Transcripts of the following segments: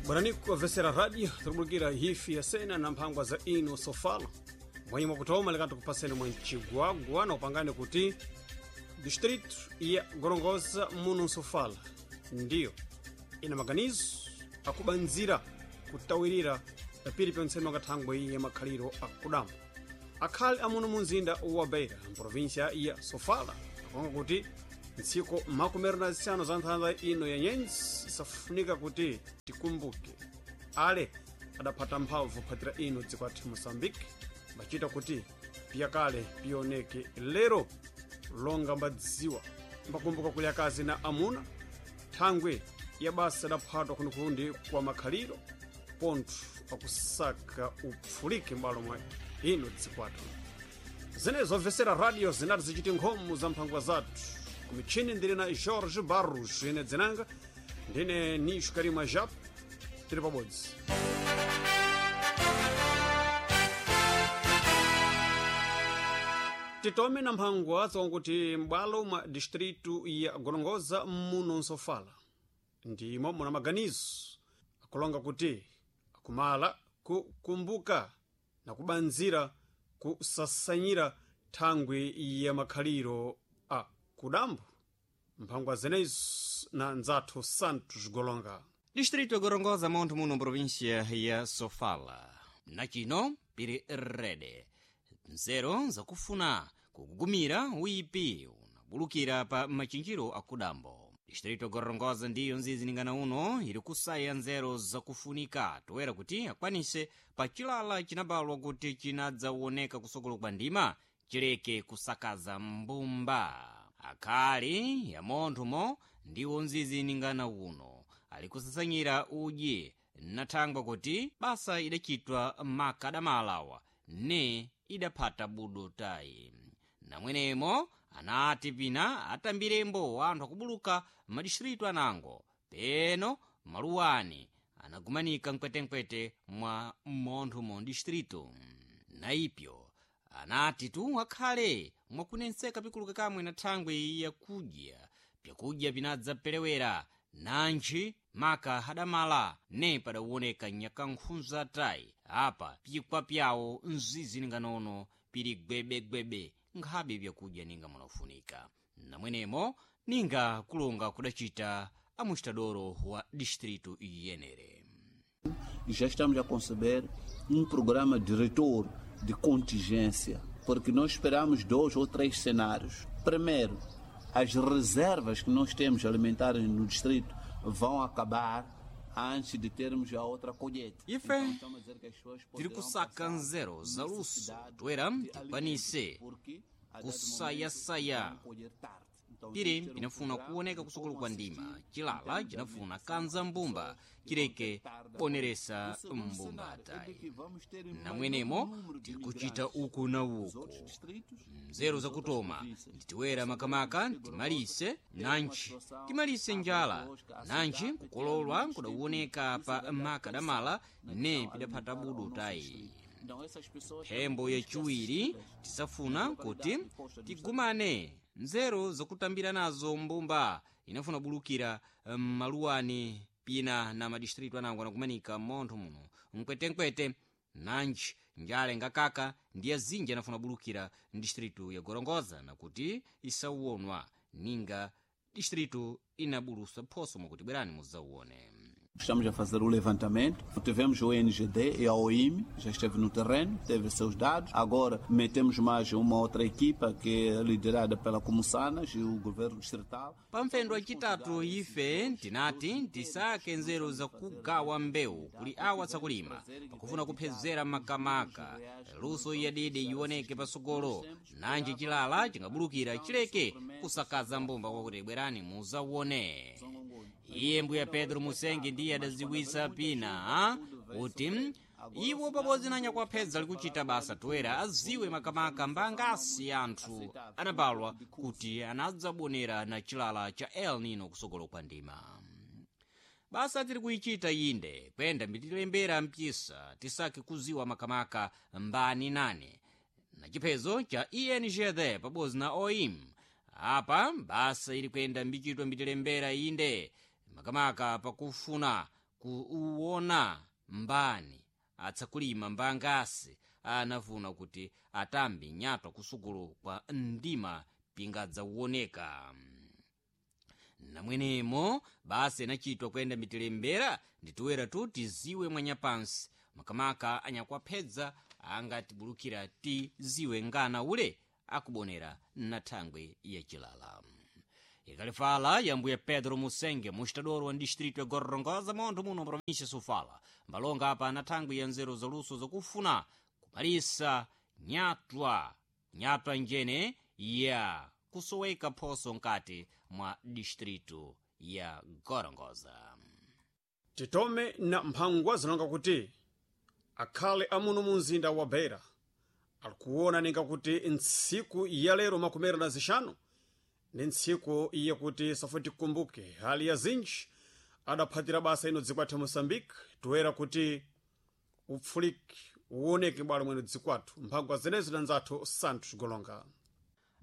Bwanani kuwavesera radio tiribulukira hifi ya sena na mphangwa za ino sofala mwenye mwakutoma lekati kupaseni mwa ncigwagwa na upangani kuti distrito ya Gorongosa muno nsofala ndiyo ina maganizo akubanzira kutawirira pili pyontsene makathangwe ya makhaliro akudambo akhali amuno mu mzinda wa Beira mprovinsia ya Sofala akonga kuti ntsiku 15 za nthanda ino ya nyenzi isafunika kuti tikumbuke ale adaphata mphamvu phatira ino dziko athu Moçambique mbachita kuti piyakale pioneke lero longa mbadziwa mbakumbuka kuli akazi na amuna thangwe ya basa adaphatwa kunikundi kwa makhaliro pontho akusaka upfulike m'balo mwa ino dziko athu zenezo obvesera radio zinati zichiti nkhomo za mphangwa zathu kumichini ndili na Jorge Barros ine dzinanga ndine Nisho Karima Jap tili pabodzi. Titome na mphangwa zakuti m'bwalo mwa distritu ya Gorongosa muno nsofala ndimo muna maganizo akulonga kuti akumala kukumbuka na kubanzira kusasanyira thangwi ya makhaliro a kudambo. Mphangwa zenezo na nzathu Santos Golonga. Distrito ya Gorongosa montho muno província ya Sofala nachino pili rede nzeru zakufuna kugugumira uipi unabulukira pa machinjiro akudambo. Distrito Gorongosa ndiyo nzizi ningana uno ili kusaya nzeru zakufunika toera kuti akwanise pa chilala chinabalwa kuti chinadzawoneka kusokolo kwa ndima chileke kusakaza mbumba. Akhali ya monthomo ndiwo nzizi ningana uno ali kusasanyira udyi nathangwa kuti basa idachitwa makadamalawa ne idaphata budo tayi. Namwenemo anati pina atambirembo anthu akubuluka madistritu anango peno maluwani anagumanika mkwetenkwete mwa monthomo distritu. Naipyo anati tu akhale mwakunenseka pikuluka kamwe na thangwi yakudya pyakudya pinadzapelewera nantchi maka hadamala ne padawoneka nyakankhunza tayi apa pikwa pyawo mzizi ninganono pili gwebegwebe nkhabe pyakudya ninga munafunika. Namwenemo ninga kulonga kudacita amuxitadoro wa distritu iyenere. Já estamos a conceber um programa de retorno de contingência, porque nós esperamos dois ou três cenários. Primeiro, as reservas que nós temos alimentares no distrito vão acabar antes de termos a outra colheita. Ife Então, estamos a dizer que as pessoas tiri poderão kusaka passar nzeru za luso necessidade toera de tikwanise alimento, porque a dado kusayasaya. momento vão colher tarde. Então, Piri temos que ter um pinafuna programa kuoneka de kusukulu como kwa ndima assistir chilala em termos de chinafuna alimentação kanza às mbumba pessoas que vão chileke ter tarde a poneresa colher. O segundo mbumba cenário é de tayi. que vamos ter maior Namwenemo número de tikuchita migrantes uku na dos uku outros distritos nzeru e das outras zakutoma províncias. nditiwera makamaka timalise nantchi timalise njala nantchi kukololwa kudawoneka pa makadamala ne pidaphata budu tayi. Mphembo yachiwiri tisafuna kuti tigumane nzeru zakutambira nazo mbumba inafuna bulukira maluwani pina na madistritu anango anakumanika montho muno mkwetenkwete nantchi njala ingakaka ndi azinji anafuna bulukira mdistritu ya Gorongosa nakuti isauwonwa ninga distritu inabulusa phoso mwakuti bwerani mudzauwone. Estamos a fazer o levantamento. Tivemos o NGD e a OIM, já esteve no terreno, teve seus dados. Agora metemos mais uma outra equipa que é liderada pela Comussanas e o governo distrital. Pamphendo acitatu ife tinati tisake nzeru zakugawa mbewu kuli awa tsakulima pakufuna kuphezera makamaka luso yadidi ioneke pasogolo nanji chilala chingabulukira chileke kusakaza mbumba kwakuti bwerani muzawone. Iye mbuya Pedro Musengi ndiye adaziwisa pina kuti iwo pabodzi na nyakuwaphedza likuchita basa toera aziwe makamaka mbangasi anthu anabalwa kuti anadzabonera na chilala cha El Nino kusogolo kwa ndima. Basa tiri kuichita inde kwenda mbitilembera mpisa tisake kuziwa makamaka mbani nane na chiphezo cha ENGD pabodzi na OIM. Apa basa ili kuyenda mbichitwa mbitilembera inde makamaka pakufuna Kuwona mbani atsakulima mbangasi anafuna kuti atambe nyatwa kusukulu kwa ndima pingadzawoneka. Namwenemo basa inachitwa kuyenda mitilembera nditiwera tu tiziwe mwanyapansi makamaka anyakuwaphedza angatibulukira tiziwe ngana ule akubonera na thangwe yacilala. Ikalifala ya mbuya Pedro Musenge, mustadoro wa distrito ya Gorongosa, montho muno província Sofala, mbalonga apa na thangwe ya nzeru zaluso zakufuna kumalisa nyatwa nyatwa njene ya kusoweka phoso nkati mwa distrito ya Gorongosa. Titome na mphangwa zinonga kuti akhale amuno mu mzinda wa Beira alikuona ninga kuti ntsiku ya lero 15 ni ntsiku yakuti safo tikumbuke hali ya zinji adaphatira basa ino dziko athu Moçambique, toera kuti upfuliki uwoneke bwalo mwene dziko athu. Mphangwa zenezo na nzathu Santos Golonga.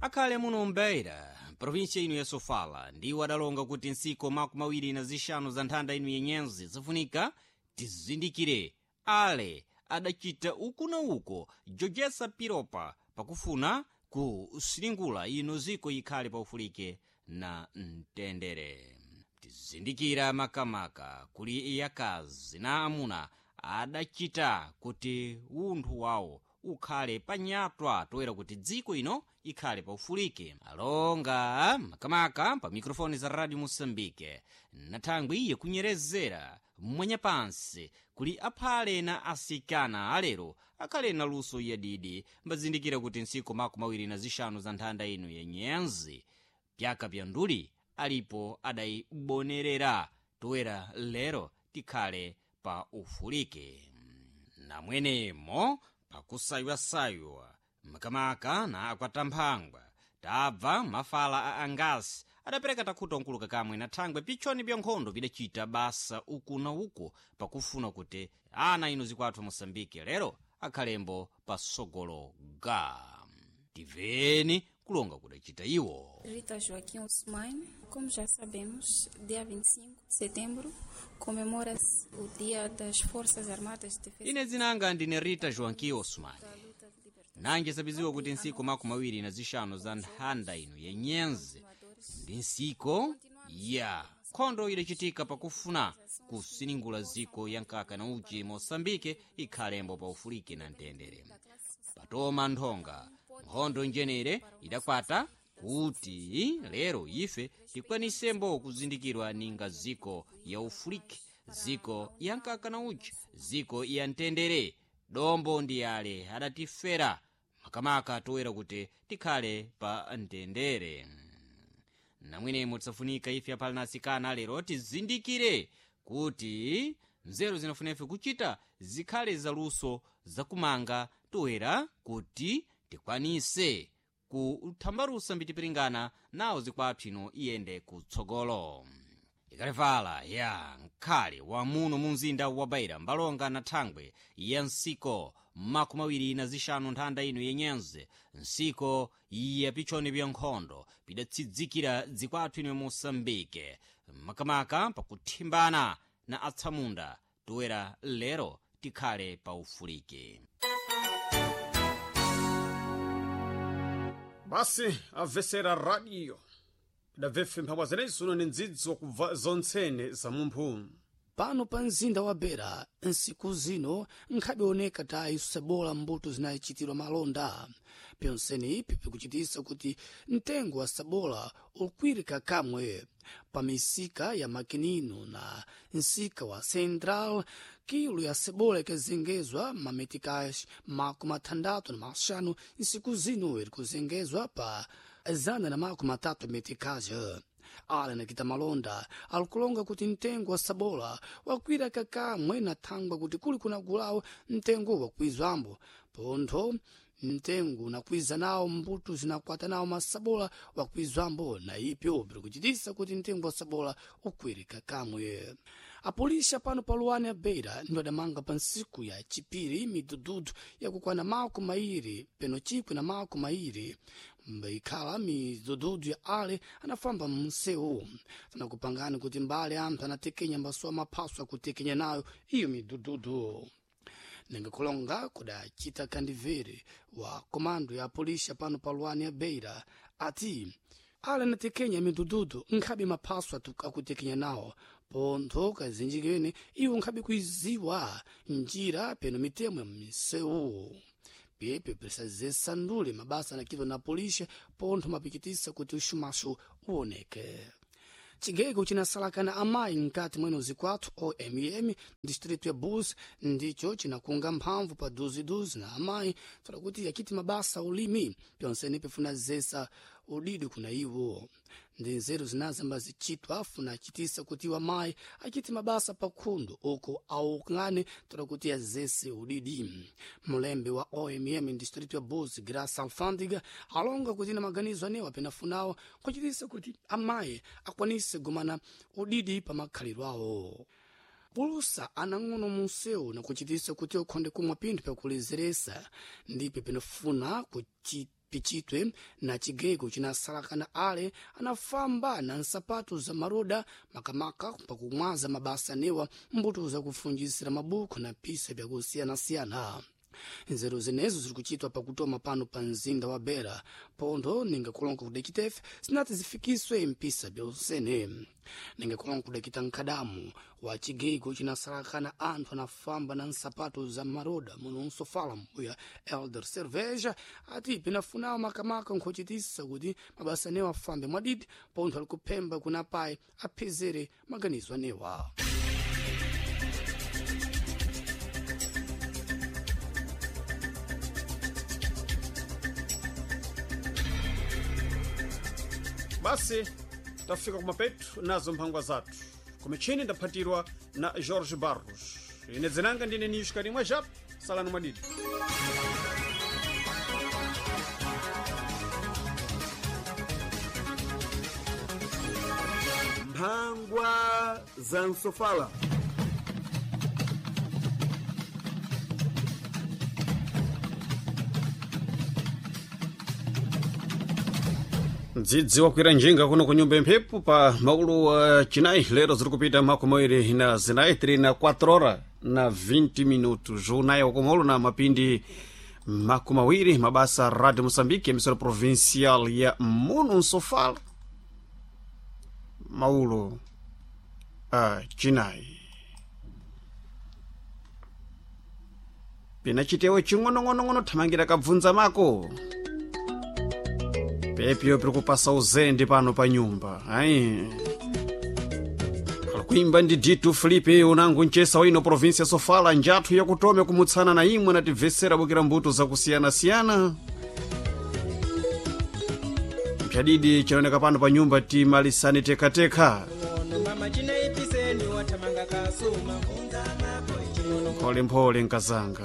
Akhale muno mbeira província ino ya Sofala ndiwo adalonga kuti ntsiku 25 za nthanda ino yenyenzi zifunika tizindikire ale adachita uku na uko jojesa piropa pakufuna kusilingula ino ziko ikhale paufulike na mtendere. Tizindikira makamaka kuli yakazi na amuna adachita kuti unthu wawo ukhale panyatwa toera kuti dziko ino ikhale paufulike. Alonga makamaka pa mikrofoni za Radio Moçambique na thangwi iye kunyerezera mwanyapansi kuli aphale na asikana alero akhale na luso yadidi mbazindikira kuti ntsiku 25 za nthanda ino yenyenzi pyaka pya nduli alipo adayibonerera toera lero tikhale pa ufulike. Namwenemo pakusaywa-saywa makamaka na akwatamphangwa tabva mafala a angasi adapereka takhuta nkuluka kamwe na thangwe pitchoni bya nkhondo bidachita basa uku na uku pakufuna kuti ana ino zikwathu Moçambique lero akhalembo pasogolo ga tiveni kulonga kudachita iwo. Rita Joaquim Ousmane, como já sabemos, dia 25 de setembro comemora-se o Dia das Forças Armadas de Defesa. Ine dzinanga ndine Rita Joaquim Ousmane. Da luta de libertação. Nange sabiziwa kuti ntsiku 25 za nthanda ino yenyenzi ndi ntsiko ya nkhondo idachitika pakufuna kusiningula ziko ya nkaka na uchi Moçambique ikhalembo pa ufulike na mtendere. Patoma nthonga nkhondo njenere idakwata kuti lero ife tikwanisembo kuzindikirwa ninga ziko ya ufulike, ziko ya nkaka na uchi, ziko ya mtendere. Dombo ndi ale adatifera makamaka toera kuti tikhale pa mtendere. Namwenemo tisafunika ife aphale na asikana lero tizindikire kuti nzeru zinafuna ife kuchita zikhale zaluso zakumanga toera kuti tikwanise kuthambalusa mbitipiringana nawo zikwathu ino iyende kutsogolo. Ikalevala ya mkhale wa muno mu mzinda wa Beira mbalonga na thangwe ya nsiko 25 nthanda ino yenyenze nsiko ya pichoni bya nkhondo pidatsidzikira dzikwathu ino Moçambique makamaka pakuthimbana na atsamunda toera lero tikhale pa ufulike. Basi amvesera radio idabvefe mphangwa zenezo uno ni ndzidzo kubva zontsene za mumphu. Pano pa mzinda wa Beira nsiku zino nkhabioneka tayi sabola mbuto zinayichitidwa malonda. Pyonseni ipi pikuchitisa kuti mtengo wa sabola ukwirika kamwe pa misika ya makinino na nsika wa Central. Kilo ya sabola ikazengezwa mametikash 65 nsiku zino iri kuzengezwa pa 130 metikash. Ale nakita malonda alikulonga kuti mtengo wa sabola wakwira kakamwe na thangwa kuti kuli kunagulawo mtengo wakwizwambo pontho mtengo unakwiza nawo mbuto zinakwata nawo masabola wakwizwambo na ipyo biri kuchitisa kuti mtengo wa sabola ukwire kakamwe. Apolisi pano pa luwani ya Beira ndo adamanga pa ntsiku ya chipiri midududu yakukwana 21 Mbaikhala midududu ya ale anafamba msewu tanakupangani kuti mbale anthu anatekenya mbasuwa maphaso akutekenya nayo iyo midududu. Ningakulonga kudacita kandivere wa komando ya polisi pano pa lwani ya Beira ati ale anatekenya midududu nkhabe maphaso akutekenya nawo pontho kazinji kene iwo nkhabe kuiziwa njira peno mitemo ya misewu. Pepe prisazesandule mabasa anakitwa na polisi pontho mapikitisa kuti uxumaxo uwoneke. Chigego chinasalakana amayi mkati mweno zikwathu OMM distrito ya Bus ndicho chinakunga mphamvu pa duziduzi na amayi tola kuti yakiti mabasa ulimi pyonsene pifuna zesa udidi kuna iwo. Ndi nzeru zinazamba zichitwa funa achitisa kuti iwo amayi achiti mabasa pakhundu uko aukane tola kuti azese udidi. Mulembe wa OMM distrito ya Bus Graça Alfândiga alonga kuti na maganizo anewa penafunawo kuchitisa kuti amayi akwanise gumana udidi pa makhalidwe awo. Pulusa anang'ono munsewu nakuchitisa kuti ukhonde kumwa pinthu pyakulezeresa ndipo pinafuna pichitwe na chigego chinasalakana ale anafamba na nsapato za maroda makamaka pakumwaza mabasa anewa mbuto zakufunjisira mabuku na pisa pyakusiyanasiyana. Nzeru zinezo ziri kuchitwa pakutoma pano pa mzinda wa Beira pontho ningakulonga kudakitefe zinati zifikiswe mpisa byonsene. Ningakulonga kudakita nkhadamu wa chigego chinasalakana anthu anafamba na nsapato za maroda muno nsofala mbuya Elder Cerveja ati pinafunawo makamaka nkhochitisa kuti mabasa anewa afambe mwadidi pontho ali kuphemba kuna payi aphezere maganizo anewa. Basi tafika kumapetu nazo mphangwa zathu kumichini ndaphatirwa na Jorge Barros. Ine dzinanga ndine niyushikarimwa jap salani mwadidi. Mphangwa za Nsofala. Mdzidzi wakwira njinga kuno ku nyumba imphepo pa maulu wa chinayi lero ziri kupita makumi awiri na zinayi 3 na 4 hora na 20 minutos unayi wakumaulu na mapindi makumi awiri mabasa Radio Moçambique emissora provincial ya muno Nsofala maulo a chinayi pina chitewo ching'onong'onong'ono thamangira kabvunza mako pepyo piri kupasa uzende pano pa nyumba ayi kuimba ndi Dito Felipe unangu mchesa waino provinsia Sofala njathu yakutome kumutsana na imwe natibvesera bukira mbuto zakusiyanasiyana. Mphadidi chinaoneka pano pa nyumba timalisani tekateka mpholemphole nkazanga.